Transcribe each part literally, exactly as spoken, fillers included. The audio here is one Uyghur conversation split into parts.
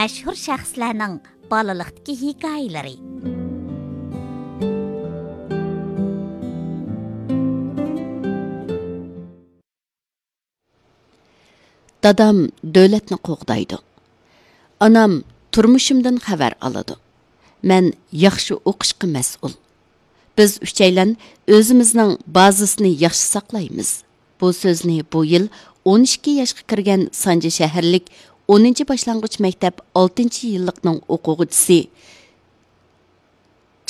مەشھۇر شەخسلەرنىڭ بالىلىقتىكى ھېكايىلىرى. دادام دۆلەتنى قوغدايدۇ. ئانام تۇرمۇشۇمدىن خەۋەر ئالىدۇ. مەن ياخشى ئوقۇشقا مەسئۇل. بىز ئۈچەيلەن ئۆزىمىزنىڭ بازىسىنى ياخشى ساقلايمىز. بۇ سۆزنى بۇ يىل ئون ئىككى ياشقا كىرگەن سانجى شەھەرلىك ئونىنچى باشلانغۇچ مەكتەپ ئالتىنچى يىللىقنىڭ ئوقۇغۇچىسى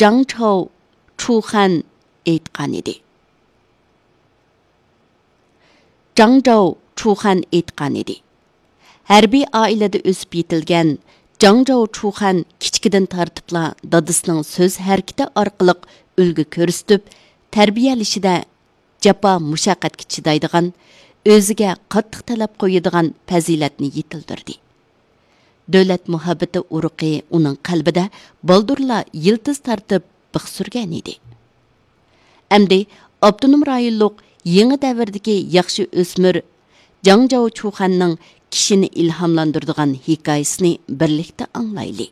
جاڭ چاۋ چۇخەن ئېيتقان ئىدى. جاڭ جاۋ چۇخەن ئېيتقان ئىدى. ھەربىي ئائىلىدە ئۆسۈپ يېتىلگەن جاڭ جاۋ چۇخەن كىچىكىدىن تارتىپلا دادىسىنىڭ سۆز ھەرىكىتى ئارقىلىق ئۈلگە كۆرسىتىپ، تەربىيەلىشىدە جاپا مۇشەققەتكە چىدايدىغان، ئۆزىگە قاتتىق تەلەپ قويىدىغان پەزىلەتنى يېتىلدۈردى. دۆلەت مۇھەببىتى ئۇرۇقى ئۇنىڭ قەلبىدە بالدۇرلا يىلتىز تارتىپ بىخ سۈرگەن ئىدى. ئەمدى ئاپتونوم رايونلۇق يېڭى دەۋردىكى ياخشى ئۆسمۈر جاڭ جاۋ چۇخەننىڭ كىشىنى ئىلھاملاندۇرىدىغان ھېكايىسىنى بىرلىكتە ئاڭلايلى.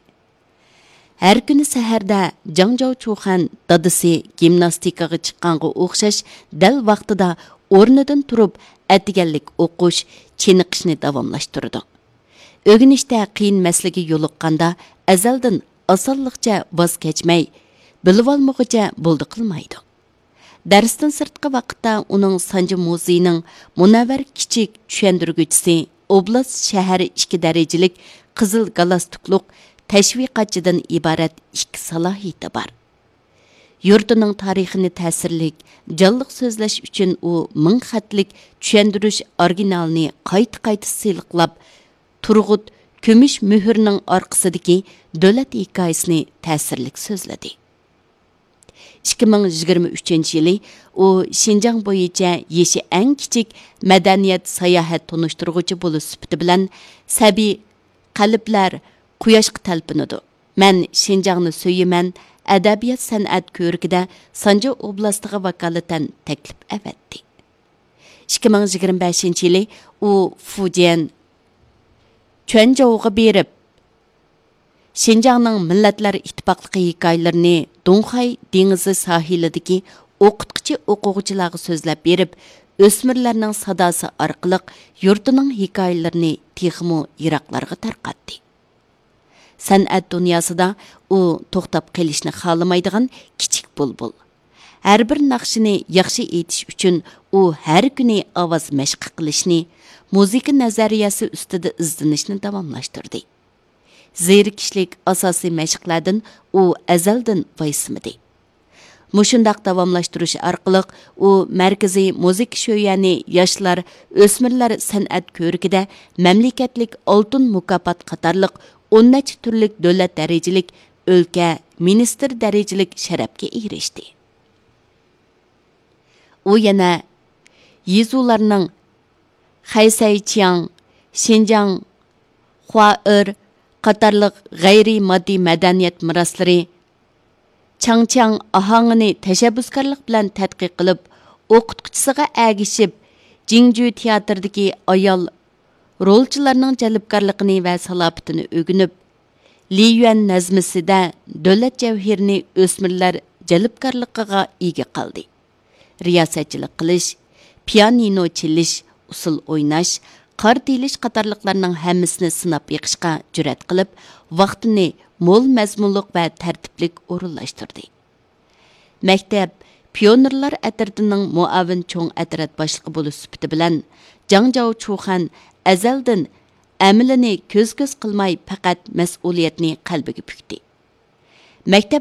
ھەر كۈنى سەھەردە جاڭ جاۋ چۇخەن دادىسى گىمناستىكىغا چىققانغا ئوخشاش دەل ۋاقتىدا ئورنىدىن تۇرۇپ، ئەتىگەنلىك ئوقۇش، چېنىقىشنى داۋاملاشتۇرىدۇ. ئۆگىنىشتە قىيىن مەسىلىگە يولۇققاندا، ئەزەلدىن ئاسانلىقچە ۋاز كەچمەي، بىلىۋالمىغۇچە بولدى قىلمايدۇ. دەرستىن سىرتقى ۋاقىتتا ئۇنىڭ سانجى مۇزېيىنىڭ مۇنەۋۋەر كىچىك چۈشەندۈرگۈچىسى، ئوبلاست شەھەر ئىككى دەرىجىلىك قىزىل گالستۇكلۇق تەشۋىقاتچىدىن ئىبارەت ئىككى سالاھىيىتى بار. يۇرتىنىڭ تارىخىنى تەسىرلىك، جانلىق سۆزلەش ئۈچۈن ئۇ مىڭ خەتلىك چۈشەندۈرۈش ئورىگىنالىنى قايتا-قايتا سىلىقلاپ، تۇرغۇت كۈمۈش مۆھۈرنىڭ ئارقىسىدىكى دۆلەت ھېكايىسىنى تەسىرلىك سۆزلىدى. ئىككى مىڭ يىگىرمە ئۈچىنچى يىلى ئۇ شىنجاڭ بويىچە يېشى ئەڭ كىچىك مەدەنىيەت ساياھەت تونۇشتۇرغۇچى بولۇش سۈپىتى بىلەن سەبىي قەلبلەر قۇياشقا تەلپۈنىدۇ، مەن شىنجاڭنى سۆيىمەن ئەدەبىيات سەنئەت كۆرىكىدە سانجى ئوبلاستىغا ۋاكالىتەن تەكلىپ ئەۋەتتى. ئىككى مىڭ يىگىرمە بەشىنچى يىلى ئۇ فۇجيەن چۈەنجوۋغا بېرىپ، شىنجاڭنىڭ مىللەتلەر ئىتتىپاقلىقى ھېكايىلىرىنى دۇڭخەي دېڭىزى ساھىلىدىكى ئوقۇتقۇچى ئوقۇغۇچىلارغا سۆزلەپ بېرىپ، ئۆسمۈرلەرنىڭ ساداسى ئارقىلىق يۇرتىنىڭ ھېكايىلىرىنى تېخىمۇ يىراقلارغا تارقاتتى. سەنئەت دۇنياسىدا ئۇ توختاپ قېلىشنى خالىمايدىغان كىچىك بۇلبۇل. ھەر بىر ناخشىنى ياخشى ئېيتىش ئۈچۈن ئۇ ھەر كۈنى ئاۋاز مەشقى قىلىشنى، مۇزىكا نەزەرىيەسى ئۈستىدە ئىزدىنىشنى داۋاملاشتۇردى. زېرىكىشلىك ئاساسىي مەشىقلەردىن ئۇ ئەزەلدىن ۋايسىمىدى. مۇشۇنداق داۋاملاشتۇرۇش ئارقىلىق ئۇ مەركىزىي مۇزىكا شۆيۈەنى ياشلار، ئۆسمۈرلەر سەنئەت كۆرىكىدە مەملىكەتلىك ئالتۇن مۇكاپات قاتارلىق ئون نەچچە تۈرلۈك دۆلەت دەرىجىلىك، ئۆلكە، مىنىستىر دەرىجىلىك شەرەپكە ئېرىشتى. ئۇ يەنە يېزۇلارنىڭ خەيسەيچياڭ، شىنجاڭ خۇائېر قاتارلىق غەيرىي ماددىي مەدەنىيەت مىراسلىرى، چاڭچياڭ ئاھاڭىنى تەشەببۇسكارلىق بىلەن تەتقىق قىلىپ، ئوقۇتقۇچىسىغا ئەگىشىپ، جىڭجۈ تىياتىرىدىكى ئايال رولچىلارنىڭ جەلپكارلىقىنى ۋە سالاپىتىنى ئۆگىنىپ، لىيۈەن نەزمىسىدە دۆلەت جەۋھىرىنى ئۆسمۈرلەر جەلپكارلىقىغا ئىگە قىلدى. رىياسەتچىلىك قىلىش، پىيانىنو چېلىش، ئۇسسۇل ئويناش، قارت ئېلىش قاتارلىقلارنىڭ ھەممىسىنى سىناپ بېقىشقا جۈرئەت قىلىپ، ۋاقتىنى مول مەزمۇنلۇق ۋە تەرتىپلىك ئورۇنلاشتۇردى. مەكتەپ پىيونېرلار ئەترىتىنىڭ مۇئاۋىن چوڭ ئەترەت باشلىقى بولۇش سۈپىتى بىلەن، جاڭ جاۋ چۇخەن ئەزەلدىن ئەمىلىنى كۆز-كۆز قىلماي، پەقەت مەسئۇلىيەتنى قەلبىگە پۈكتى. مەكتەپ